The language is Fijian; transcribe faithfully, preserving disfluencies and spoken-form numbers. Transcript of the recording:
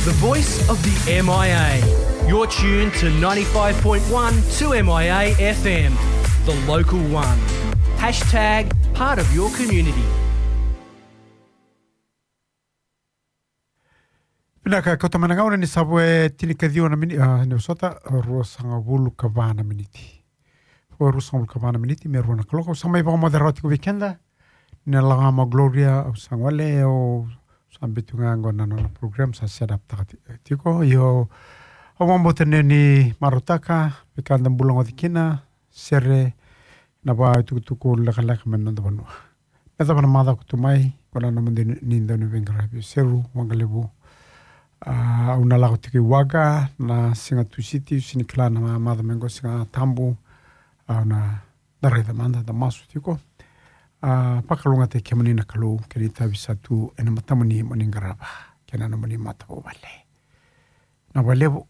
The voice of the M I A. You're tuned to ninety-five point one two M I A F M, the local one. Hashtag part of your community. Vinaka, kauta mai na gauna ni sa vo e tinikaciwa na miniti, a, ni vosota, ruasagavulu ka va na miniti. Vo ruasagavulu ka va na miniti me rua na kaloko. Au sa mai vakamoce rawa tiko vei keda. Ni na lako mai o Gloria, au sa gole, au sa biu tu ga qo na nona program, sa set up taka ti-, tiko. Io, au vakabauta ni ni marautaka, vei keda bula goci kina, sere, na vaitukutuku lekaleka mai na noda vanua. Me cava na macawa ko tu mai, ko na nomudou ni, ni dau ni veiqaravi, Seru, Waqalevu. A, au na lako tiko i Waqa, na siga Tusiti, au sega ni kila na macawa mai qo, Siga Tabu. Au na, da raica mada, da masu tiko. A, vakalougatataki kemuni na Kalou, kei na itavi sa tu ena matamuni mo ni qarava, kei na nomuni matavuvale. Na vakalevu,